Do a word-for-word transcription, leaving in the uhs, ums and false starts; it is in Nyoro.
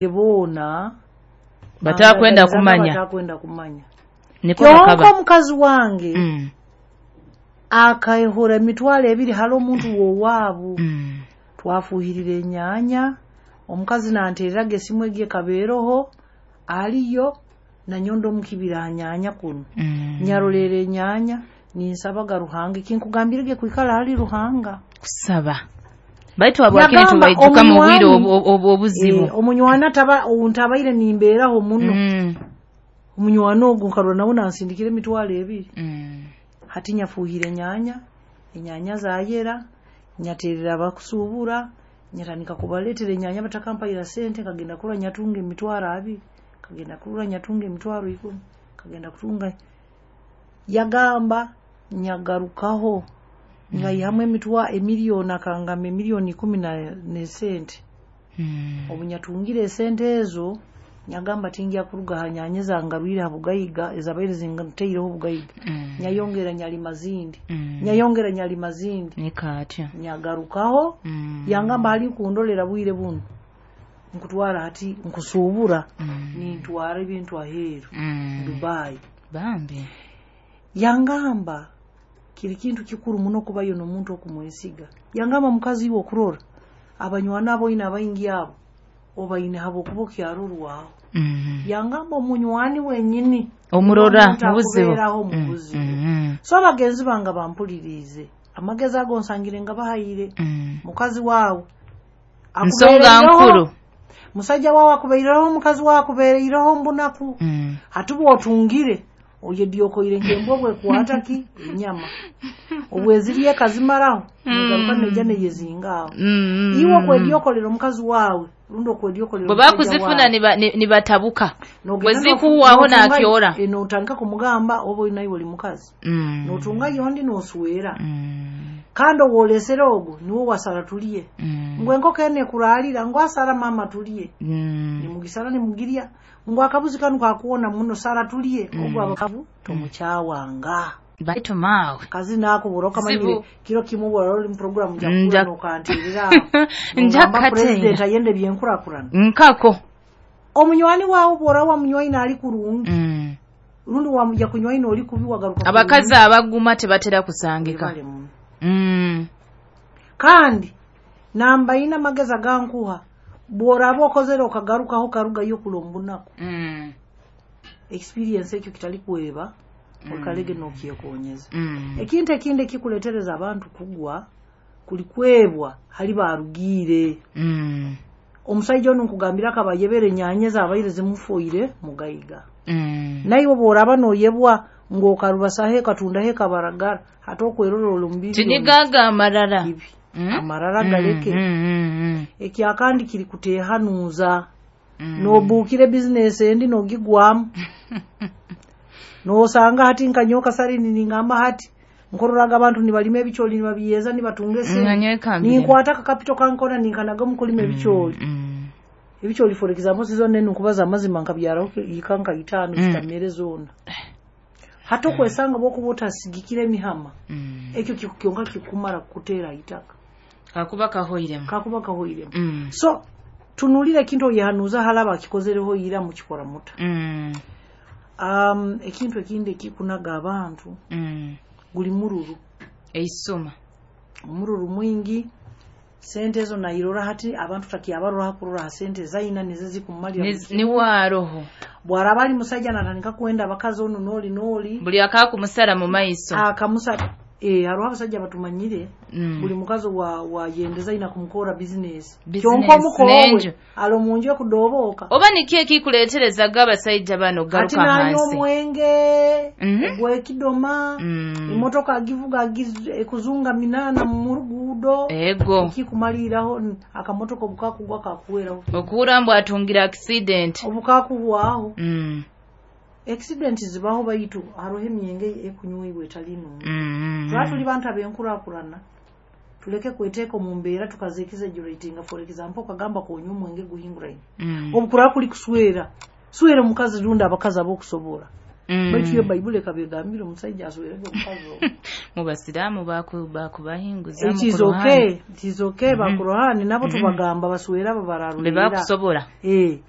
Boona Batakwenda kumanya. Batakwenda kumanya. Niko Kyonka bakaba. Omukazi wange Mm. akahora emitwaro ebiri hali omuntu w'owaabo. Mm. Twafuhirira enyaanya, omukazi nantereraga esimu egi ekabeeroho aliyo nanyondo omukibira ha nyaanya kunu. Mm. Nyarolera enyaanya, ninsabaga Ruhanga, ekinkugambirege kwikara hali Ruhanga. Kusaba, baitu habwakini Yagamba tubaijuka mu bwire omunywani- obu- obu- obuzibu. Eh, omunywani ataba ntabaire nimbeeraho muno. Mm. Omunywani ogu nkarora nawe nansindikira emitwaro ebiri. Mm. Hati nyafuhire enyaanya, enyaanya zayera, nyaterera abakusuubura, nyatandika kubaleetera enyaanya batakampaira sente. Nkagenda kurora nyatunga emitwaro abiri, kagenda kurora nyatunga emitwaro ikumi, kagenda kutunga. Yagamba nyagarukaho nyayihamu emitwa emiliyoni, akangamba emiliyoni ikumi na nesente. Mm. Obu nyatungire esente ezo, nyagamba tingya kuruga ha nyaanya zangarwire ha bugaiga, ezabaire zinteireho obugaiga. Mm. Nyayongera nyalima zindi. Mm. Nyayongera nyalima zindi. Nikaatya. Nyagarukaho. Mm. Yangamba hali kundolera bwire buno nkutwara, hati nkusuubura. Mm. Nintwara ebintu aheeru. Mm. Dubai. Bambi. Yangamba kiri kintu kikuru muno kubayo n'omuntu okumwesiga. Yangamba mukazi iwe okurora abanywani abo oine abaingi, abo obaine habwokuba okyarorwaho. Mm. Yangamba omunywani wenyini omurora omuntu mu buzibu. Akubeeraho mu Mm. buzibu. Mm. So abagenzi bange bampuliriize, amagezi ago nsangire nga bahayire. Mm. Mukazi waawe nsonga akubeereireho, nkuru. Musajja waawe akubeeireho, omukazi waawe akubeereireho mbunaku. Mm. Hati bwotungire oyedyokoire nk'embwa bwekwata ki enyama, obwezirye ekazimaraho, negaruka neija neyezingaaho. Mm. Iwe okwedyokolera omukazi waawe rundi okwedyokolera bwe omusajja bakuzifuna waawe. niba- ni- nibatabuka. Nogenda Bwe zikuwaaho notunga- nakyora. eh, notandika kumugamba oba olina iwe oli mukazi. Mm. Notunga yondi noswera. Mm. Kandi owolesere ogwo niwe wasara tulye. Mm. Ngu enkoko eno ekuraalira, ngu asara mama tulye. Mm. Nimugisara nimugirya, ngu akabuzi kanu kakuwona muno, sara tulye. Ogwo abakabu tomukyawanga. Baitu maawe Kazi nakubura okamanyire. Zibu. Kiro kimwe bwora oli mu program Nja- njakura nokantirira Nja nogamba kateera. president ayende byenkurakurana. Nkako. Omunywani waawe bwora wamunywaine ali kurungi, Mm. rundi wamuja kunywaine oli kubi, wagaruka Abakazi abaguma tebatera kusangika. Webale muno. Mm. Kandi namba ina, amagezi agankuha, bworaba okozere okagarukaho karugayo kulombunaku. Mm. Experience ekyo kitali kweba, oikalege nokyekonyeza. Mm. Ekintu ekindi ekikuletereza abantu kugwa kuli kwebwa hali barugiire. Mm. Omusajja ono nkugambira akaba ayebere enyaanya zabaire zimufoire mugaiga. Mm. Naiwe bworaba noyebwa ng'okarubasaho ekatundaho ekabaragara, hati okwerora oli mu biliyoni. Tinigaga amarara. Kibi. Mm? Amarara galeke. Mm, mm, mm, Ekyakandi kiri kutehanuuza. mm. Nobuukira ebizinesi endi nogigwamu, nosanga hati nkanyoka salini ningamba hati nkororaga abantu nibalima ebikyoli, nibabyeza, nibatunga esente. Nganywekambire. Ninkwata akakapito kankona ninkanaga omukulima ebikyoli. Mm. Ebikyoli, for example, sizone nkubaza amazima, nkabyaraho ika nka itaano. Mm. Zitamere zoona. Hati okwesanga bwokuba otasigikira emihama, Mm. ekyo kiku- kyonka kikumara kukuteera itaka. Kakuba kahoiremu. Kakuba kahoiremu. Mm. So tunulira ekintu oyehanuuza halaba akikozereho ira mukikora muta. Mm. um, ekintu ekindi ekikunaga abantu Mm. guli mururu. Eisuma. Omururu mwingi, sente ezo nairora hati abantu takyabarora hakurora ha sente zaina nizo zikumalira buli Niz- kimu. Niwaroho. Bwaraba ali musajja natandika kwenda abakazi ono noli noli. Buli akakumusara mu maiso. Akamusa eh, hariho abasajja batumanyire. Mm. Buli mukazi wa wayendeza ina kumukora business. Business, Kyonka omukowe n'enju. alo munju ekudobooka. Oba niki ekikuleeterezaga abasajja bano Ati garuka nanywa hansi? Omwenge Mhm. ogwekidoma. Mm. Emotoka agivuga agiz- ekuzunga minana mu ruguudo. Ego. Ekikumaliraho n- akamotoka obukakugwa kakuweraho. Okuwura mbu atungira accident. Obukakuhwaho. Mm. Accident zibaho, baitu hariho emyenge ekunyweibwa etali nungi. Mm. Tuba tuli bantu abenkurakurana, tuleke kweteeka omu mbeera tukazekiza. For example, okagamba konywa omwenge guhinguraine, Mm. obukuraba kuli kuswera swera omukazi rundi abakazi ab'okusobola. Mm. Baitu yo Bayibuli ekaba egambire omusajja aswerege omukazi ogwo. Mu basiraamu baku- bakubahinguza It is okay, it is okay. Bakurohani nabo tubagamba baswere abo be bararulira. Bakusobola. Eh.